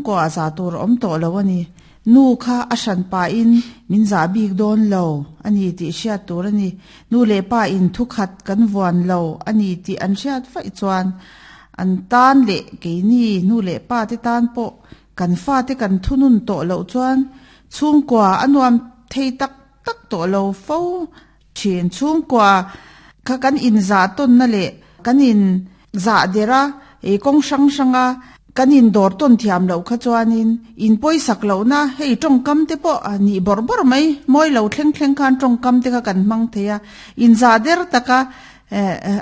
Kua zah tur a awm tawh lo a ni. Nu kha a hran pahin min zah bik dawn lo a ni tih hriat tur a ni. Nu leh pa in thu khat kan vuan lo a ni tih an hriat vaih chuan an tan leh keini nu leh pa te tan pawh kan fate kan thunun tawh loh chuan chhungkua a nuam thei tak tak tawh lo fo thin. Chhungkua kha kan inzah tawnna leh kan in zah der a, ei kawng hrang hranga kan in dawr tawn thiam loh kha chuanin in pawisak lohna hei tawngkam te pawh a nih bawrh bawrh mai, mawi lo thleng thleng khan tawngkam te kha kan hmang thei a, in zah der taka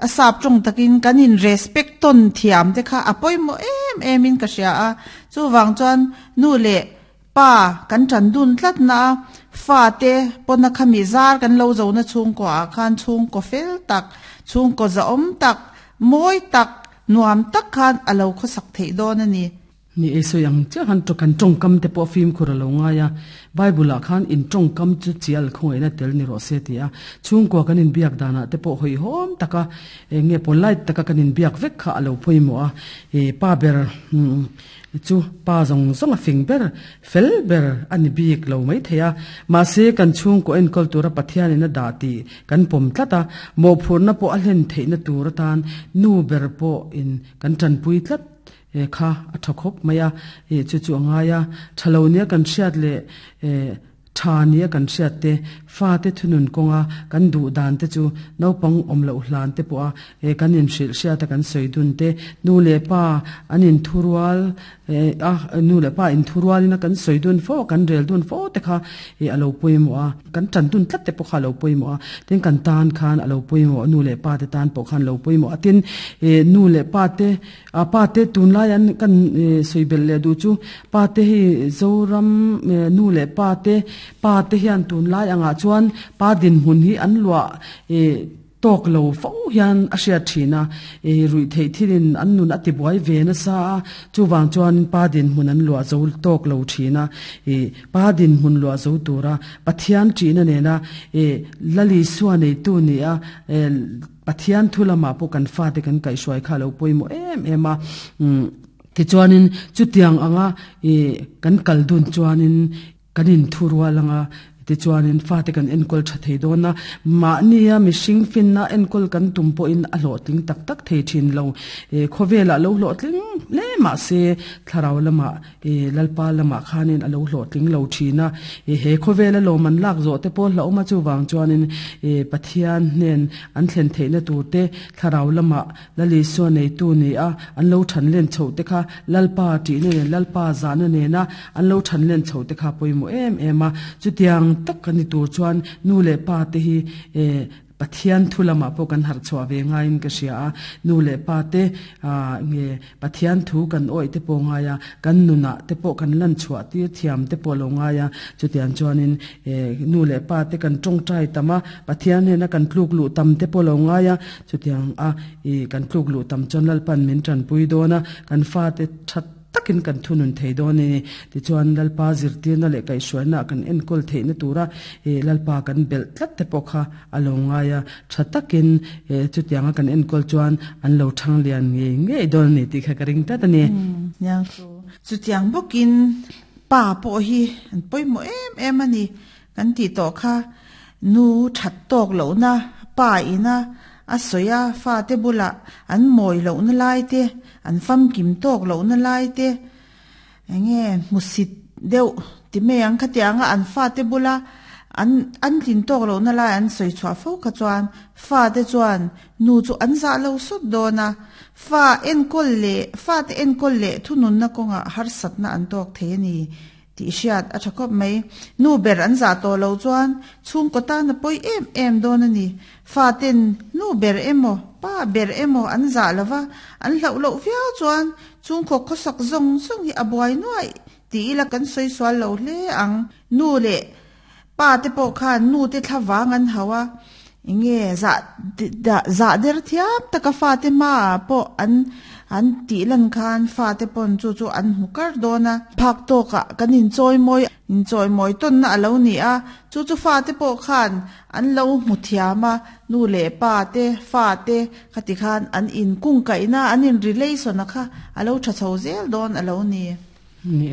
a sap tawng takin kan in respect tawn thiam te kha a pawimawh em em in ka hria a, chuvang chuan nu leh Pa, kan ṭan dun tlat na a, fate pawna khami zar kan lo zo na chhungkaw ah khan chhungkaw fel tak, chhungkaw zahawm tak, mawi tak, nuam tak khan a lo khawsak theih dawn a ni. Ni e, sawi ang chiah khan kan tawngkam te pawh fimkhur a lo ngai a, Bible ah khan in tawngkam chu chial khawngaihna tel ni rawh se ti a, chhungkua kan inbiak danah te pawh hawihhawm taka eng nge polite taka kan inbiak vek kha a lo pawimawh a, e pa ber Chu pa zawng zawng a fing ber, fel ber a ni bik lo mai thei a. Mahse, kan chhungkaw enkawl tura Pathianin a dah tih kan pawm tlat a, mawhphurhna pawh a hlen theihna tur atan nu ber pawhin kan tanpui tlat kha a tha khawp mai a, chu chu a ngai a. Tha lo nia kan hriat leh Tha nia kan hriat te, fate thunun kawnga kan duh dan te chu naupang awm loh hlan te pawha he kan inhrilh hriata kan sawi dun te, nu leh pa an inthurual a, nu leh pa inthurualin a kan sawi dun fo a, kan rel dun fo te kha a lo pawimawh a, kan tan dun tlat te pawh kha a lo pawimawh a, tin kan tan khan a lo pawimawh, nu leh pa te tan pawh khan a lo pawimawh a, tin nu leh pa te A pa te tunlai an kan sawi belh leh duh chu pa te hi Zoram nu leh pa te pa te hian tunlai angah chuan pa dinhmun hi an luah tawk lo fo hian a hriat thin a, ruih theih thilin an nun a tibuai ve nasa a, chuvang chuan pa dinhmun an luah zo tawk lo thin a, pa dinhmun luah zo tura Pathian ṭihna nena Lalisua neitu ni a. Pathian thu lamah pawh kan fate kan kaihhruai kha a lo pawimawh em em a, umm tichuanin chutiang anga ih kan kal dun chuanin kan inthurual anga tichuanin fate kan enkawl tha thei dawn a, mahnia mihring finna enkawl kan tum pawhin a hlawhtling tak tak thei thin lo, ih khawvelah lo hlawhtling hle mahse thlarau lamah I Lalpa lamah khanin a lo hlawhtling lo thin a, i he khawvela lawm an lak zawh te pawh hlauhawm a chuvang chuanin i Pathian hnen an thlen theihna tur te thlarau lamah Lal Isua neitu ni a an lo than len chhoh te kha Lalpa tihna nen Lalpa zahna nena an lo than len chhoh te kha pawimawh em em a, chutiang tak a ni tur chuan nu leh pa te hi i Pathian thu lamah pawh kan harh chhuah ve ngaiin ka hria a, nu leh pa te nge Pathian thu kan awih te pawh ngai a, kan nunah te pawh kan lan chhuah tir thiam te pawh lo ngai a, chutiang chuanin nu leh pa te kan tawngtai tam a, Pathian hnena kan tluk luh tam te pawh lo ngai a, chutiang a kan tluk luh tam chuan Lalpan min tanpui dawn a, kan fate that takin kan thunun thei dawn a ni. Tichuan, Lalpa zirtirna leh kaihhruaina kan enkawl theihna tura Lalpa kan belh tlat te pawh kha a lo ngai a, tha takin chutianga kan enkawl chuan an lo thang lian ngei ngei dawn a ni tih kha ka ring tlat a ni. Niang chu chutiang bawkin pa pawh hi an pawimawh em em a ni kan tih tawh kha. Nu that tawk lohna pa ina a sawi a, fate bulah an mawi lohna lai te, an famkim tawk lohna lai te, enge hmusit deuh ti mai ang khatianga an fate bula an an tlin tawk lohna lai an sawi chhuah fo kha chuan fate chuan nu chu an zah lo sawt dawn a, fa enkawl leh fate enkawl leh thununna kawngah harsatna an tawk thei a ni. Tih hriat a tha khawp mai. Nu ber an zah tawh lo chuan chhungkaw tan a pawi em em dawn a ni. Faten nu ber emaw, pa ber emaw an zah lo va, an hlauh loh viau chuan chhungkaw khawsak zawng zawng hi a buai nuaih tih ila kan sawi sual lo hle ang. Nu leh pa te pawh khan nu te thla vang an hauh a, enge zah zah der thiam taka fate hmaah pawh an an tih lan khan fate pawn chu chu an hmu kar dawn a. Phak tawkah kan inchawi mawi inchawi mawi tawnna a lo ni a, chu chu fate pawh khan an lo hmu thiam a, nu leh pa te fate khati khan an inkungkaihna an in relation a kha a lo tha chho zel dawn a lo ni. Ni e.